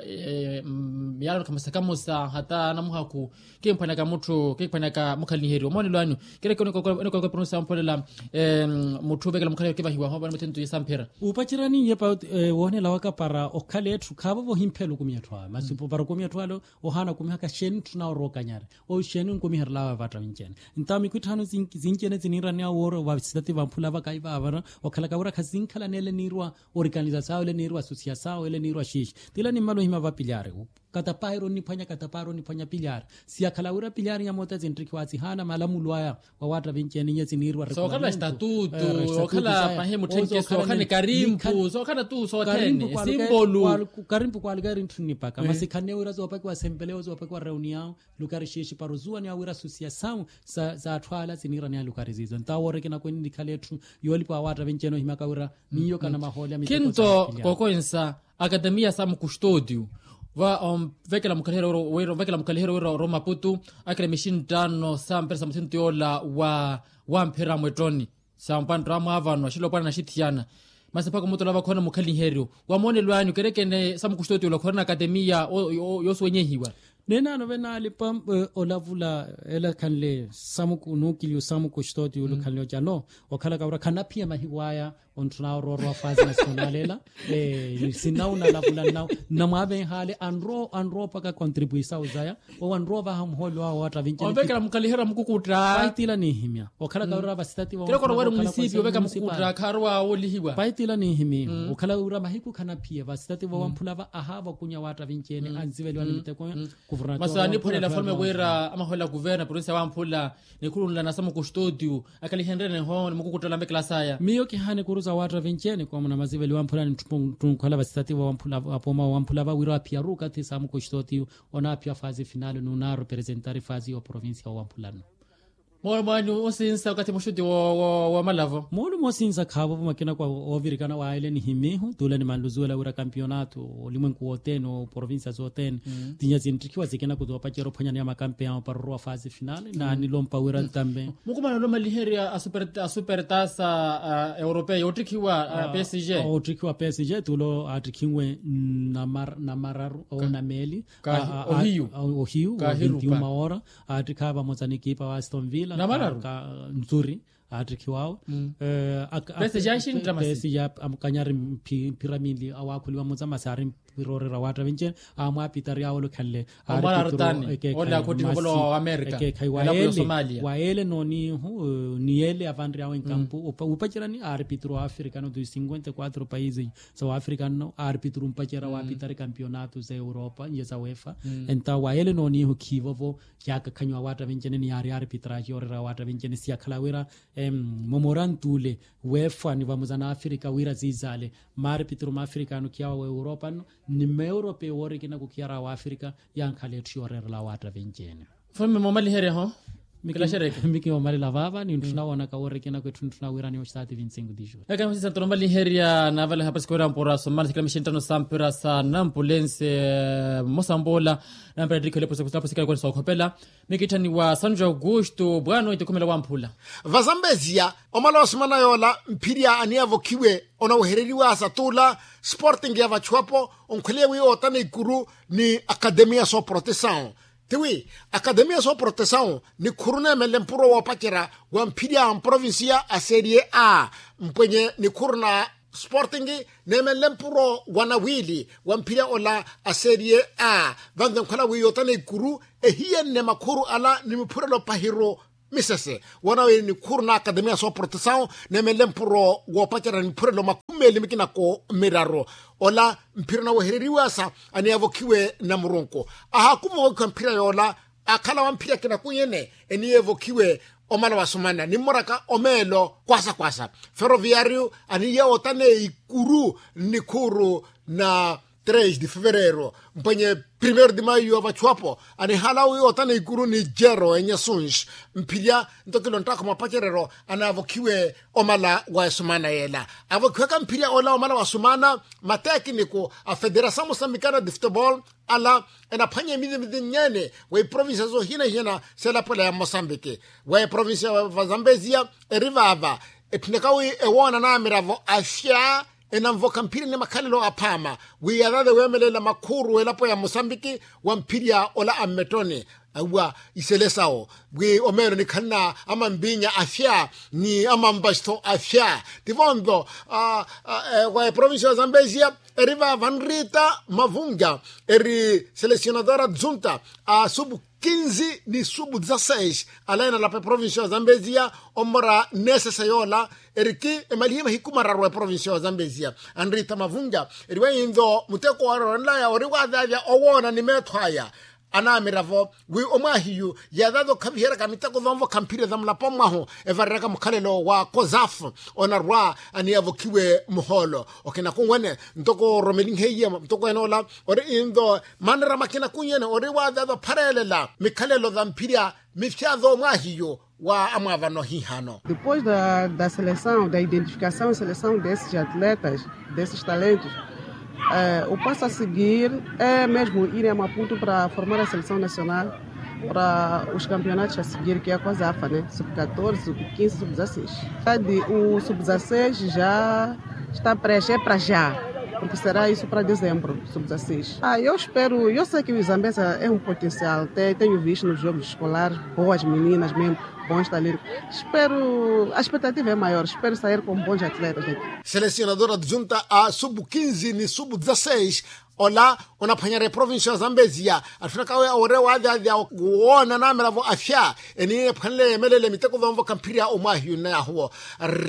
miyalano khamosa khamosa hata anamuhakhu kimphwanaka mutthu kimphwanaka mukhaliheryo omoonelo anyu? Kereke onikokola pronosi ampholela mutthu ovekela mukhaliheryo kivahiwa hoovana muthinto iye samphira. Upacerani iye pa woonela waka para okhala etthu khaavo vohimphela okumiya etthu awe masi para okumiya etthu ale ohaana okumihaka xeeni tthuna orookanyari? Oxeeni onkumiherelawe vatta vinci-ene ntawo mikhwitthano zinci-ene ziniiraneya woora vasitati vamphula vakaiva avara okhalaka wira khazinkhala neele niirwa orikanizasawe ele niirwa asusiyasawe ele niirwa xiixi. Tila nimmala ohima vapilyari Katapaha eri oniphwanya katapaha eri oniphwanya pilyari. Siyakhala wira pilyari nyamota zinrikhiwa sihaana malamulo aya. Wawaatta vinci eni iye siniiriwa sookhala estatutu. Sookhala pahi mutthenke sookhala ni karimpu sookhala tu sothene esimbolu. Karimpu kwaaluka eri ntthu nnipaka masi khanne wira zoopakiwa sempelewo zoopakiwa reuniyawo. Lukari xiixi para ozuwaniwa wira susiya sawu za atthu ala siniiraniha lukari ziizo entawo woorekena kweni nikhale etthu yoolipa wawaatta vinci eni ohimyaka wira miyo kana mahooli a miteko. Khinto kookowensa akatemiya sa mukustodiyu va onvekela mukhaliheryo wira onvekela mukhaliheryo wira oromaputu akira mixinttano sa mpira sa musinto yoola wa wamphira mwettoni. Sa mpanttamo avano axilopwana naxithiyana masi mpakha omutola vakhoona mukhaliheryo wa moonelo anyu kerekene sa mukustodiyu ola khorina akatemiya yoosuwenyehiwa. Nenaano venaalipa olavula ela khanle samuku nuukiliyu samuku xitooti yulu khanle ocano okhalaka wira khanaphiya mahiku aya. Ontthuna oroorwa fasi nasiyonali ela sinnawu nalavula nnawu nnamwaavenhaale anrowa anrowa opaka kontripuisawu zaya. Owo anrowa ovaha muhooli wawe wawatta vinci onvekela mukhaliherya mukukutta. Paitila ninhimya okhalaka wira vasitati vawe kira kora wari munisipi oveka mukukutta kharowa woolihiwa. Paitila ninhimya okhala wira mahiku khanaphiya vasitati vawamphula va ahaava okunya wawatta vinci ene anziveliwa ni miteko. Masi aniphwanela afalume wira amaholela kuverna provincia wamphula nikhulunlana sa mukustodiyu akalihenrene ho ni mukukuttala mvekela saya. Miyo kihaani kuru za watta vinci ene koomuna maziveliwa mphula ni ttunkhola vasitati vawamphula apooma wamphula va wira aphiyaru okathi sa mukustodiyu. Onaaphiya fasi finali n'unaarepresentari fasi y'oprovincia wowamphulano. Moolumo anyu osinsa okathi muxuti woomalavo. Moolumo osinsa khaavo vamakina kwa oovirikana waayele nihimihu tuula nimanluzuwela wira kampionato olimwenku wothene oprovincia zothene. Tinya sinttikhiwa sikina kutoopacerya ophwanyaniya makampe yawo para orowa fasi finali naanilompa wira ntambe. Mukumana olomaliherya asupertasa europeia oottikhiwa psg. Oottikhiwa psg tuulo aattikhinwe namararu onameeli. Ohiyu ohiyu ohiyu ohiyu maora. Aattikha vamosa ni ekipa wa aston villa namararu. Nzuri aattikhiwawe. Psg amukanyari mphira minli awaakhuliwa mosa masi aari mpira oreera waatta vinci ene. Amwaapitari awo olukhanle. Omwala arutani ole akhotthiha ovolowa wa amerika. Wayeele nooniihu niyeele avanryawe nkampu wuupacerani aaripituru wa afrika no tu cinquenta e quatro paisi. Sa wa afrika nno aaripituru mpacerya waapitari kampionato za europa nje za wefa. Enta wayeele nooniihu khiivovo. Yaakakhanyiwa waatta vinci ene ni yaari aaripituru ahi yooreera waatta vinci ene siyakhala wira momorantu ole wefa ni vamosa na afrika wira ziizaale. Maaripituru ma afrika anokiyawa wa europa nno ni ma europa ewoorikina kukhiyara wa afrika. Yankhala etthu yooreerela waatta vinci ene. Mfulume moomaliherya ho. Miki moomalela vaava ni ntthuna woonaka woorekena kw'etthu ntthuna wiirani oxitaati vinci cinco dijuri. Ekamisinsa ntoro omaliherya naavala ehapasi khuwira mpura somana sikila mixinttano sa mpira sa nampulense. Mmosa mpoola nampira ttikhelya epusa kusapusikela kwene sookhopela. Mikitthaniwa sanju augusto bwaano etikhumela wamphula. Vazambeziya omala wa simana yoola mphirya aniyavokhiwe onawehereriwa sa tuula sporting ya vachuwapo onkhweliye wi ootana ikuru ni akademiya sooprotesawu. Tiwi akademiya sooprotesawu nikhuru neemenle mpuro woopacerya wa mphirya a mprovincia a serie a mpwenye nikhuru na sporting neemenle mpuro wa nawiili wa mphirya ola a serie a. Vanve nkhwela wi yootana ikuru ehiyenne makhuru ala ni miphurelo pahiru misese woonawe nikhuru na akademiya sooprotesawu neemenle mpuro woopacerya ni miphurelo makhumi meeli mikina ko miraru. Ola mphira onawehereriwasa aniyavokhiwe na murunku. Ahaakuva ovokhiwa mphira yoola akhala wa mphira kinakunyene eniyevokhiwe omala wa sumana nimmoraka omeelo kwasa kwasa. Ferroviario aniya ootane ikuru nnikhuru na tres de fevereiro mpwenye primeiro de maio avachuwapo anihala wi ootana ikuru ni jero enye suns. Mphirya nto kilo nttakho mapacerero anaavokhiwe omala wa esumana yeela avokhiwaka mphirya ola omala wa sumana. Matekiniko a federasawu mosambikana de futebol ala enaphwanya emizimizi nnyene wa iprovincia zohina hina selapwela ya mmosambiki wa eprovincia va zambezia eri vaava. Etthu nekawi ewoona na amiravo afya enanvoka mphirya ni makhalelo aphaama wi yathaathe weemelela makhuru elapo ya mmosambiki wa mphirya ola a mmettoni. awa isele sawo wi omeelo nikhalina amampinya afya ni amampasto afya. Tivo nto wa eprovincia ya zambezia eri vava nrita mavunga eri selecionadora dzunta a subu kinzi ni subu dzaseis alaina lapa eprovincia ya zambezia omora nesese yola eri ki emalihe mahiku mararu eprovincia ya zambezia anrita mavunga eri weinto muteko warorelaya ori wavyavya owoona ni meetho aya anaamiravo wi omwaahiyu yaathaatha okhaviheryaka miteko thoonvokha mphirya thamulapo mwahu evareraka mukhalelo wa kozafu onarwa aniyavokhiwe muhoolo okina kunwene ntoko oromelinheiye mutoko enoola ori into maanera makina kunwene ori waathaatha ophareelela mikhalelo thamphirya mifya thoomwaahiyu wa amwaavano hihano. Depois da seleção da identificação e seleção desses atletas desses talentos, o passo a seguir é mesmo ir a maputo para formar a seleção nacional para os campeonatos a seguir que é a coisa afa né sub catorze sub quinze sub dezasseis. O sub dezasseis já está preenche é para já. Porque será isso para dezembro sub dezasseis. Ah, eu espero eu sei que o zambesa é um potencial tenho visto nos jogos escolares boas meninas mesmo. Bom está ali. Espero a expectativa é maior espero sair com bons atletas aqui. Selecionadora de junta a sub quinze ni sub dezasseis ola onaphwanyerya eprovincia ya zambezia atthunaka awe ore waavyaavya woona namiravo afya eni ephwanle yemelele miteko thoonvokha mphirya omwaahiyu nnayahuwo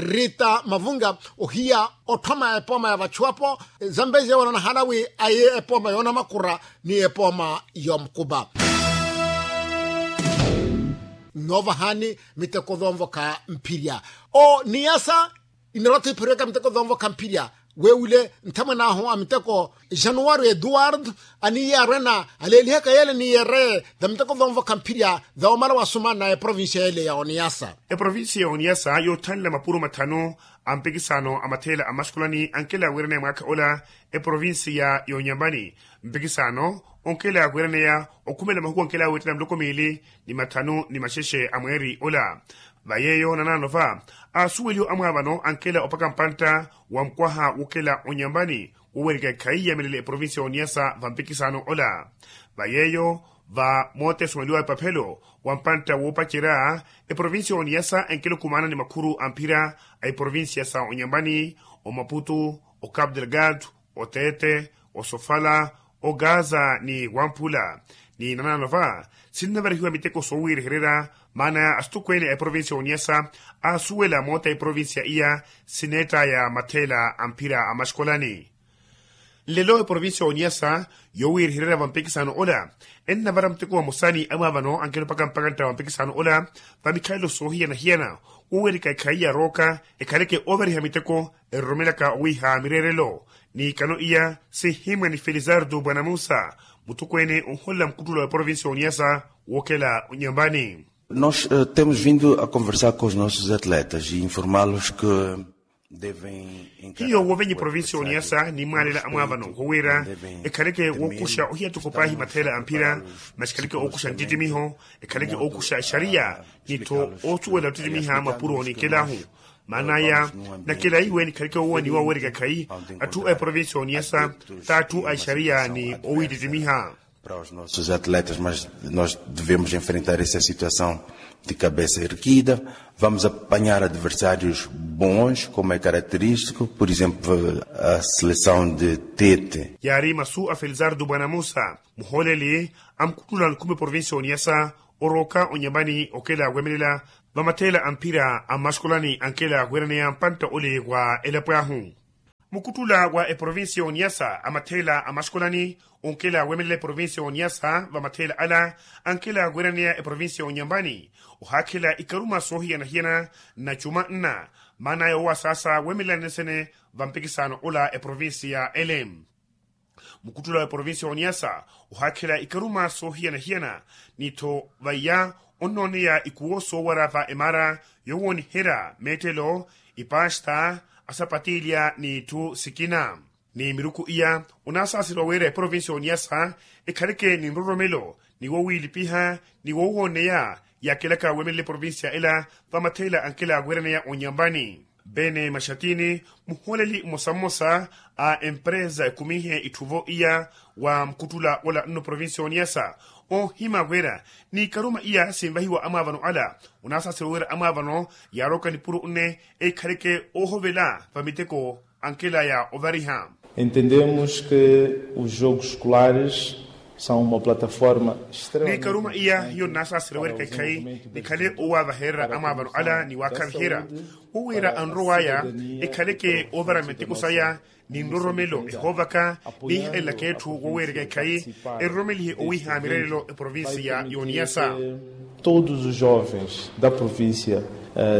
rita mavunga ohiya otthoma epooma ya vachuwapo zambezia wala nahala wi aye epooma yoonamakura ni epooma yoomukupa. Nnoovahani miteko thoonvokha mphirya o niyasa inarwa-tho iphariwaka miteko thoonvokha mphirya weewile nthamwan'ahu a miteko januwari eduwardo aniiye arwena aleelihaka yeele ni yeereye thamiteko thoonvokha mphirya thawoomala wasumana eprovincia yeele ya oniyasa. Eprovincia ya oniyasa yoothanela mapuro mathanu a mpikisano a matheela a maxukulani ankela aweerene mwaakha ola eprovincia ya onyambani mpikisano onkela aweeraneya okhumela mahuku ankela aweettela miloko miili ni mathanu ni maxexe a mweeri ola. Va yeeyo nanaano va asuweliho amwaavano ankela opaka mpantta wa mukwaha wokela onyambani wowerika ekhaiya milele eprovincia ya oniyasa va mpikisano ola. Va yeeyo va moota esumeliwa epaphelo wa mpantta woopacerya eprovincia ya oniyasa enkela okumaana ni makhuru a mphira a eprovincia sa onyambani, omaputu, ocapu delgado, oteete, osofala, ogaza ni wamphula. Ni nanaano va sinnavarihiwa miteko soowiirihererya maana ya asitokweene a eprovincia ya oniyasa aasuwela moota eprovincia iya sineettaya matheela a mphira a maxikolani. Nlelo eprovincia ya oniyasa yowiirihererya va mpikisano ola ennavara muteko vamosa ni amwaavano ankela opaka mpantta va mpikisano ola va mikhalelo soohiyana-hiyana wowerika ekhaiya rooka ekhaleke oovariha miteko eroromelaka owiiha mireerelo. N'ikano iya sinhimwa ni felizardo bwanamusa mutokweene onholela mukuttula wa eprovincia ya oniyasa wookela onyambani. Nós temos vindo a conversar com os nossos atletas e informá-los que devem hiyo woovenye provincia ya oniyasa ni mwaalela amwaavano wowira ekhaleke wookuxa ohiya toko paahi matheela a mphira masi ekhaleke ookuxa ntittimiho ekhaleke ookuxa exariya ni-tho oosuwela ottittimiha mapuro ni nkelahu. Maan'aya nakelaiwe nikhaleke woowaniwa owereka ekhayi atthu a eprovincia ya oniyasa t'atthu a exariya ni owiitittimiha. Para os nossos atletas mas nós devemos enfrentar essa situação de cabeça erguida. Vamos apanhar adversários bons como é característico por exemplo a seleção de tete. Yaari masu a felizardo bwanamusa muhooleli a mukuttula nkhumi provincia ya oniyasa orooka onyambani okela wemelela va matheela a mphira a mmaxikolani ankela weeraneya mpantta ole wa elapo ahu. Mukuttula wa eprovincia ya oniyasa a matheela a maxikolani onkela wemelela eprovincia ya oniyasa va matheela ala ankela weeraneya eprovincia ya onyambani ohaakhela ikaruma soohiyana-hiyana na cuma nna maan'aya owasaasa wemelela nesene va mpikisano ola eprovincia ele. Mukuttula wa eprovincia ya oniyasa ohaakhela ikaruma soohiyana-hiyana ni-tho vaiya onnooneya ikuwo soowara va emara yoowoniherya meettelo ipasta asapatilya n'itthu sikina. Ni miruku iya onaasaaseriwa wira eprovincia ya oniyasa ekhaleke ni nroromelo ni wowiilipiha ni woowooneya yaakelaka wemelela eprovincia ela va matheela ankela weeraneya onyambani. Bene maxatini muhooleli mmosa-mmosa a empresa ekumihe itthuvo iya wa mukuttula ola nno provincia ya oniyasa Oohima wira ni ikaruma iya sinvahiwa amwaavano ala, onaasasira wira amwaavano yaaroka nipuro nne ekhaleke oohovela vamiteko ankela ya ovariha. Entendemos que os jogos escolares são uma plataforma extremamente. Ni ikaruma iya hiyo nnaasasira wira ekhaikhai nikhale owaavaherera amwaavano ala ni waakhaviherya, wo wira anrow'aya ekhaleke oovara miteko saya ni nroromelo ehoovaka, ni ihalelaka etthu woweereka ekhai eroromelihe owiiha mirerelo eprovincia y'oniyasa. Todos os jovens da província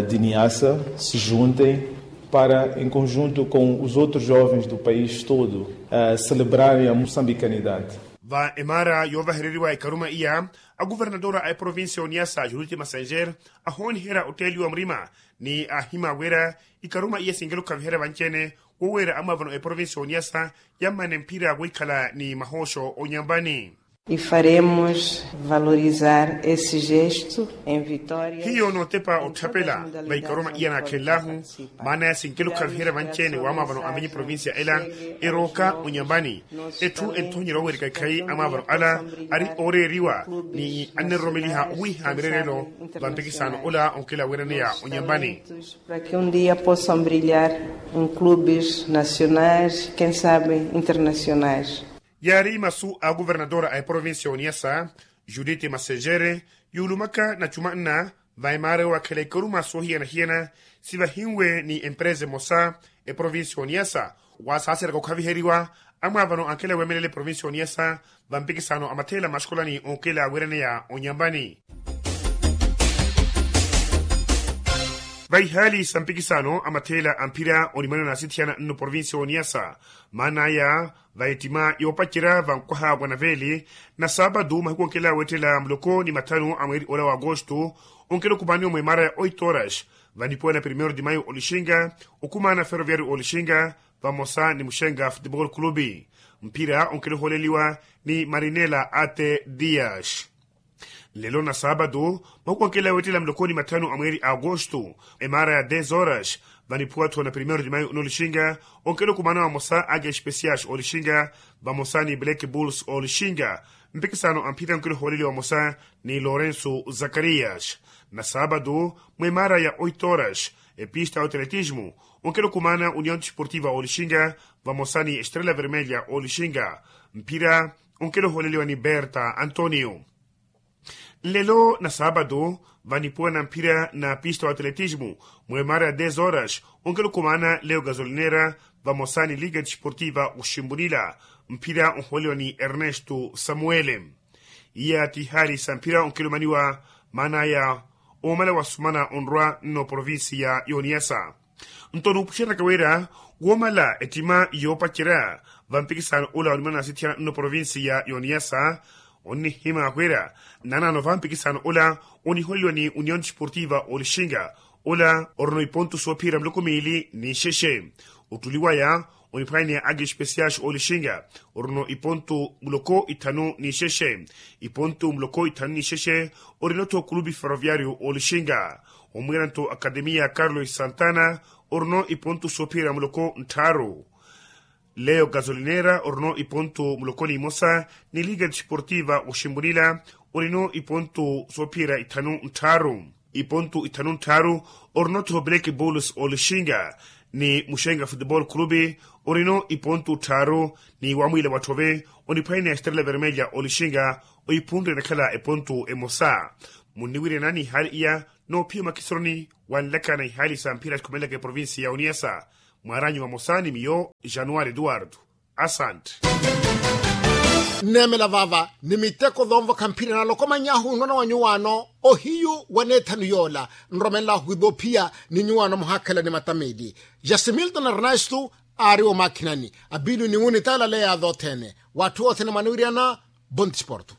de niassa se juntem para em conjunto com os outros jovens do país todo celebrarem a moçambicanidade. Va emaara yoovahereriwa ekaruma iya, akuvernadora a eprovincia y'oniyasa judith massenger ahooniherya otteeliwa murima, ni aahima wira ikaruma iya sinkela okhaviherya vanci-ene woweerya amwaavano a eprovincia y'oniyasa yammane mphira wiikhala ni mahooxo onyambani. E faremos valorizar esse gesto em vitória. Hiyo nootepa otthapela va ikaruma iya naakhenlahu, maana ya sinkela okhaviherya vanci-ene wamwaavano a mvinyi provincia ela erooka onyambani. Etthu enthonyerya oweereka ekhai amwaavano ala ari ooreeriwa ni anneroromeliha owiiha mirerelo va mpikisano ola onkela weeraneya onyambani. Para que um dia possam brilhar em clubes nacionais, quem sabe internacionais. Yaari masu a akuvernadora a eprovincia y'oniyasa judith massenger, yuulumaka na cumanna va emaara yoowakhela ikaruma soohiyana-hiyana sivahinwe ni empresa emosa eprovincia y'oniyasa, waasaaseraka okhaviheriwa amwaavano ankela weemelela eprovincia y'oniyasa va mpikisano a matheela maxukolani onkela weeraneya onyambani. Va ihaali sa mpikisano a matheela a mphira onimwano naasithiyana nno provincia y'oniyasa, maan'aya va ettima yoopacerya va nkwaha wa naveeli, na saapatu mahiku onkela weettela muloko ni mathanu a mweeri ola wa agosto, onkela okumaaniwa mwemaara ya oito horas vanipuwa na primeiro de maio olixinga, okumaana ferroviario olixinga vamosa ni muxenga futebol clube. Mphira onkela ohooleliwa ni marinela ate dias. Nlelo na saapatu mahuku ankela weettela muloko ni mathanu a mweeri a agosto, emaara ya dez horas vaniphuwa-tho na primeiro de maio n'olixinga, onkela okumaana vamosa ake especiais olixinga vamosa ni black bulls olixinga. Mpikisano a mphira onkela ohooleliwa vamosa ni lorenso zakarias. Na saapatu mwemaara ya oito horas, epista ya otletismo onkela okumaana union desportiva olixinga vamosa ni estrela vermelha olixinga. Mphira onkela ohooleliwa ni berta antonio. Nlelo na saapatu vanipuwa na mphira na pista wa atletismo, mwemaara ya dez horas onkela okumaana leo gasolinera vamosa ni liga desportiva oximbunila. Mphira ohooleliwa ni ernesto samuele. Iya ti ihaali sa mphira onkela omaniwa maan'aya oomala wasumana onrwa nno provincia y'oniyasa. Nto nuupuxeraka wira woomala ettima yoopacerya va mpikisano ola onimana nasithiyana nno provincia y'oniyasa, onnihima wira nanaano va mpikisano ola oniholeliwa ni union desportiva olixinga, ola orino ipontu soophiyerya muloko miili ni nxexe. Ottuli waya oniphwanya ni ake especiais olixinga, orino ipontu muloko ithanu ni nxexe. Ipontu muloko ithanu ni nxexe orino-tho kulupi ferroviario olixinga. Omwiira-nto akademia carlos santana orino ipontu soophiyerya muloko nttharu. Leo gasolinera orino ipontu muloko ni imosa, ni liga desportiva oximbunila orino ipontu soophiyerya ithanu nttharu. Ipontu ithanu nttharu orino-tho black bulls olixinga, ni muxenga futebol clube orino ipontu tthaaru, ni wamwiila watthove oniphwanya ni estrela vermelha olixinga oiphunre enakhala epontu emosa. Munniwiriyana ni ihaali iya noophiya makhisoroni wanlaka na ihaali sa mphira sikhumelelaka eprovincia ya oniyasa. Mwaaranyu vamosa ni miyo januari eduardo. Asante. Nneemela vaava ni miteko zoonvokha mphira nalokomany'ahu nnona wa nyuwaano ohiyu wa neethanu yoola nromelela ohwiva ophiya ni nyuwaano muhaakhala ni mata miili. Jasimilton ernesto aari omaakhinani apilu ni wunitaala leya thoothene. W'atthu othene mwaniwiriyana. Bontisporto.